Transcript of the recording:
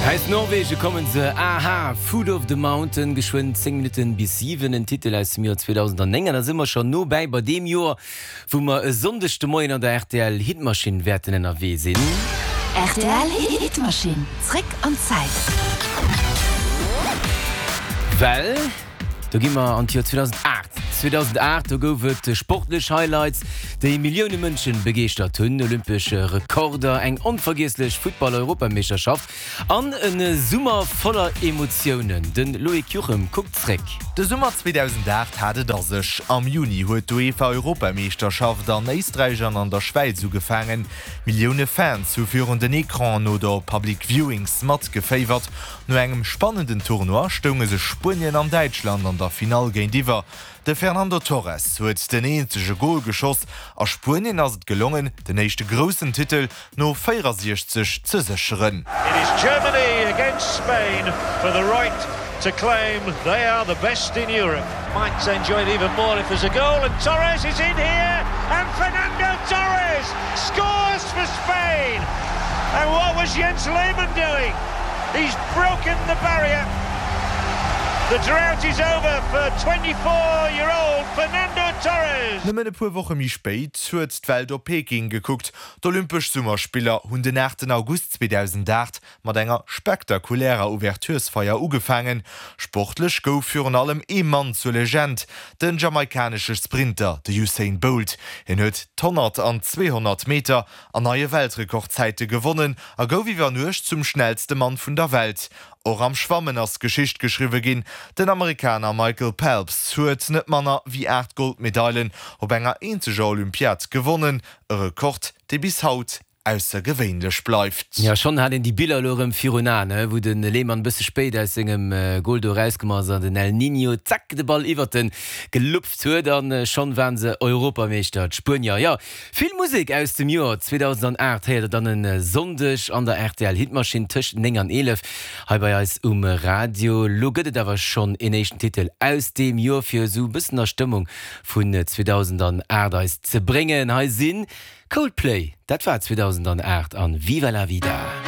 Aus Norwegen kommen se, A-ha, Foot of the Mountain, geschwënn 10 Minutten bis 7, en Titel aus dem Joer 2009. An da si mer schonn no bäi bei deem Joer, wou mer e Sonndeg de Moien an der rtl Hitmaschinn wäerten ënnerwee sinn. Rtl Hitmaschinn, zréck an d'Zäit. Well do gi mer an d'Joer 2008. 2008, do gouf et sportlech Highlights, déi Millioune Mënschen begeeschtert hunn, olympesch Rekorder, eng onvergiesslech Futtball-Europameeschterschaft An e Summer voller Emotiounen. De Loïc Juchem kuckt zréck. De Summer 2008 hat et a sech. Am Juni huet d'UEFA-Europameeschterschaft an Éisträich an an der Schwäiz ugefaangen. Millioune Fans hu virun den Ecranen oder op Public Viewings matgeféiwert. No engem spannenden Tournoi stounge sech Spuenien an Däitschland an der Finall géintiwwer. De Fernando Torres huet den eenzege Gol geschoss a Spuenien ass et gelongen, den éischte groussen Titel no 64 ze sécheren. It is Germany against Spain for the right to claim they are the best in Europe. Might enjoy it even more if there's a goal and Torres is in here and Fernando Torres scores for Spain! And what was Jens Lehmann doing? He's broken the barrier. The drought is over for 24 year old Fernando Torres. Nëmmen e puer Woche méi spéit huet d'Welt op Peking gekuckt. D'Olympesch Summerspiller hunn den 8 August 2008 mat enger spektakulärer Ouverturesfeier ugefaangen. Sportlech gouf virun allem ee Mann zur Legend, den jamaikanesche Sprinter, de Usain Bolt. Hien huet d'100 an 200 Meter an neie Weltrekordzäite gewonnen a gouf iwwer Nuecht zum schnellste Mann vun der Welt. Och am Schwammen ass Geschicht geschriwwe ginn, Den Amerikaner Michael Phelps huet net manner wéi 8 Goldmedailen op enger eenzeger Olympiad gewonnen, e Rekord, dee bis haut aussergewéinlech bleift. Jo, schonn hat een déi Biller elo erëm virun Aen, wou de Lehmann e bësse spéit aus sengem Gol do erauskomm ass an den El Niño zack de Ball iwwert en gelupft huet an schonn waren se Europameeschter, d'Spuenier. Jo, Vill Musek aus dem Joer 2008 héiert der dann e Sonndeg an der rtl Hitmaschinn tëscht 9 an 11 hei bei eis um Radio. Lo gëtt et awer schonn een éischten Titel aus deem Joer fir esou e bëssen a Stëmmung vun 2008 eis ze bréngen. Hei si Coldplay, dat war 2008 an Viva la Vida.